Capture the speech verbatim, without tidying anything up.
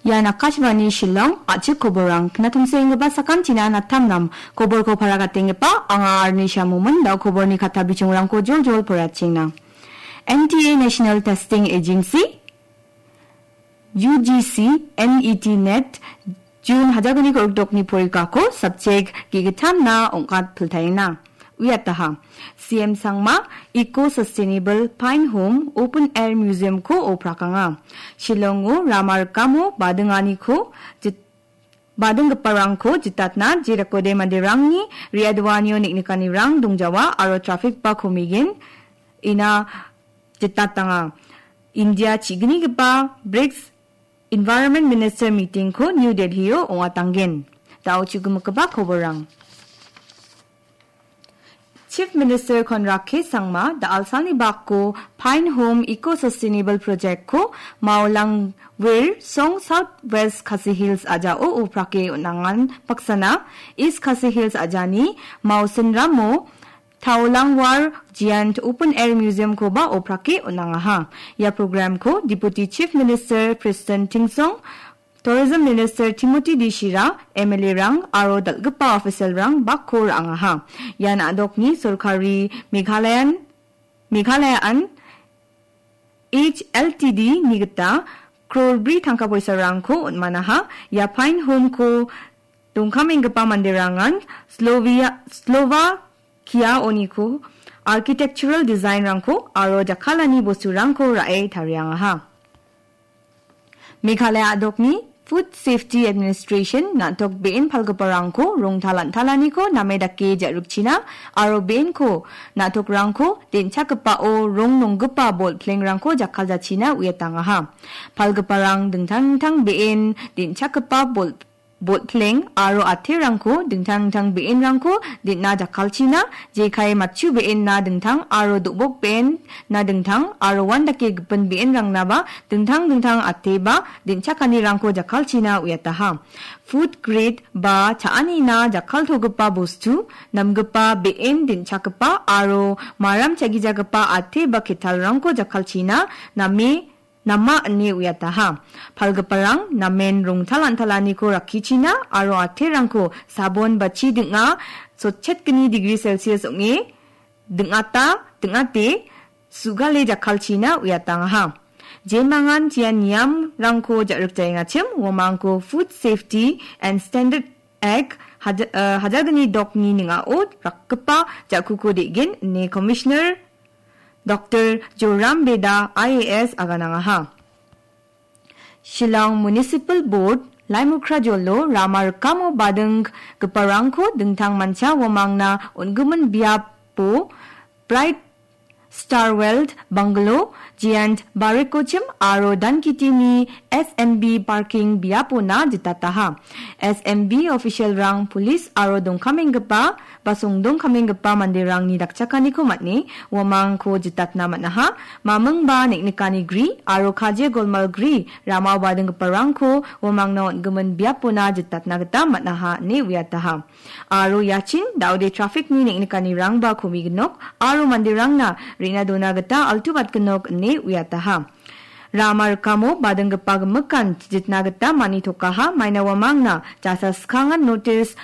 Ian Akashvani Shillong, a·chik koborrang. Knatongsoenggipa sakantina nattam nam. Koborko paragatenggipa, anga Arnisha Momin, da·o koborni kata bijongrangko jol jol poraichengna. N T A National Testing Agency, U G C, N E T net, June hajalgni ko·rikdokni porikako subject ge·gittamna ong·katpiltaenga. Uiataha. C M Sangma Eco Sustainable Pine Home Open Air Museum-ko oprakanga. Shillongo rama rikamo badinganiko jit-, badinggiparangko jitatna jerakode manderangni re·adoanio neng·nikanirang dongjawa aro traffic-ba komigen ina jitatanga. India chi·gnigipa brics Environment Minister Meeting-ko New Delhi-o ong·atanggen. Da·o chu·gimikgipa koborrang. Chief Minister Conrad K Sangma da·alsalni bako Pine Home Eco Sustainable Project-ko Maolangwir Song South West Khasi Hills ajao oprake on·angan baksana East Khasi Hills ajani Maosinramo Taolangwar Giant Open Air Museum-koba oprake on·angaha. Ia program-ko Deputy Chief Minister Prestone Tynsong, Tourism Minister Timothy D Shira, M L A-rang aro dal·gipa official-rang bako ra·angaha. Ian a·dokni sorkari Meghalayan, Meghalayaan H L T D-ni gita crore bri tangka poisarangko on·manaha. Ia Pine Home-ko dongkamenggipa manderangan Slovia-, Slovakia-oniko architectural design-rangko aro jakkalani bosturangko ra·e tariangaha. Meghalaya a·dokni Food Safety Administration na·tok be·en palgiparangko rongtalantalaniko name dake ja·rikchina aro be·enko na·tokrangko den·chakgipao rong nonggipa bol plengrangko jakkaljachina uiatangaha. Palgiparang dingtang dingtang be·en den·chakgipa bol-, bol pleng aro aterangko dingtang dingtang be·enrangko den·na jakkalchina, jekai matchu be·enna dingtang aro do·bok be·enna dingtang aro uandake gipin be·enrangnaba dingtang dingtang ateba den·chakanirangko jakkalchina uiataha. Food grade ba cha·anina jakkaltogipa bostu, namgipa be·en den·chakgipa aro maram cha·gijagipa ate ba ketalrangko jakkalchina name nama ine uiataha. Palgiparang namen rongtalantalaniko rakkichina aro aterangko sabon ba chi ding·a sotchetgni degree Celsius ong·e ding·ata, ding·ate, su·gale jakkalchina uiatangaha. Jemangan jian niamrangko ja·rikjaengachim, uamangko Food Safety and Standard Act haja-, eh, hajalgni dokni ning·ao rakgipa ja·kuko de·gen ine Commissioner Doktor Joram Beda I A S aganangaha. Shillong Municipal Board, Laimukra Jolo, rama rikamo badinggiparangko dingtang mancha uamangna on·gimin biapo Bright Star World Bungalow, Giant Barikochim aro Dankitini S M B parking biapona jitataha. S M B official-rang, police aro dongkamenggipa ba songdongkamenggipa manderangni dakchakaniko man·e uamangko jitatna man·aha. Mamingba neng·nikani gri aro kaje golmal gri rama badinggiparangko uamangna on·gimin biapona jitatna gita man·aha ine uiataha. Aro iachin da·ode traffic-ni neng·nikanirangba komiginok aro manderangna re·na dona gita altubatginok ine uiataha. Rama rikamo badinggipa gimikan jitna gita manitokaha, maina uamangna jasa skangan notice